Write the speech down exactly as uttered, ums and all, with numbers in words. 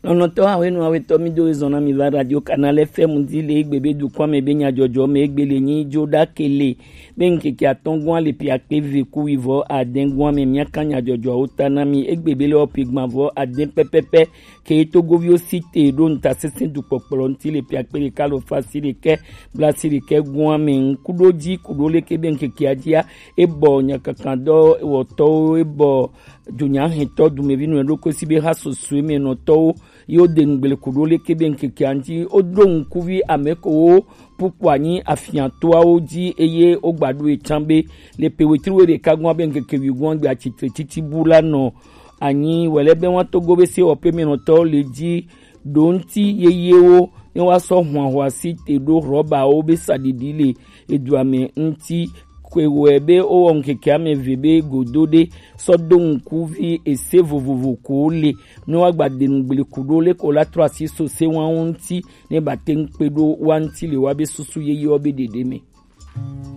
Onɔtɔ awenu awetɔ mi do ezɔn na mi va Radio Canal F M di le egbe be dukɔa me be nyadzɔdzɔ me egbe le nyi jo ɖa kele be ŋkeke atɔngɔa le piakpe ve ku wivɔ adɛngɔa me miaka nyadzɔdzɔawo ta na mi egbe be le ɔpi gbavɔ adɛ pɛpɛpɛ ke togoviwo si te ɖo ŋutasesẽ dukpɔkplɔ ŋuti le piakpe ɖeka lo fa si ɖekɛ bla si ɖekɛ gɔa me ŋkuɖo dzi kuɖo leke be ŋkekea dzia ebɔ nyakakadɔ wɔtɔwo ebɔ dzunyahɛntɔ dumevi nɔ ɖokui si be ha susue me nɔtɔwo ye wode ŋugble ku ɖo leke be ŋkekea ŋuti woɖo ŋkuvi ame kewo ƒu kpo anyi afiatoawo dzi eye wogba ɖo ye tsã be le pe wetri wo ɖeka gɔ̃a be ŋkeke wi gɔ̃a gbe atsitre titi bu la nɔ anyi wɛlɛ be wa togo be se wɔƒe me nɔtɔwo le dzi ɖo ŋuti yeyewo ne woasɔ hwanhwa si te ɖo rɔbawo be saɖiɖi le edua me ŋuti. Koe wɔe be wowɔ ŋkeke ame eve be godo ɖe sɔ do ŋkuvi ese vovovo ko le ne woagba de ŋugble ku ɖo le ko la trɔ asi so se wawo ŋuti ne ba te ŋu kpe ɖo wa ŋuti le wa be susu yeyewo be ɖeɖe me.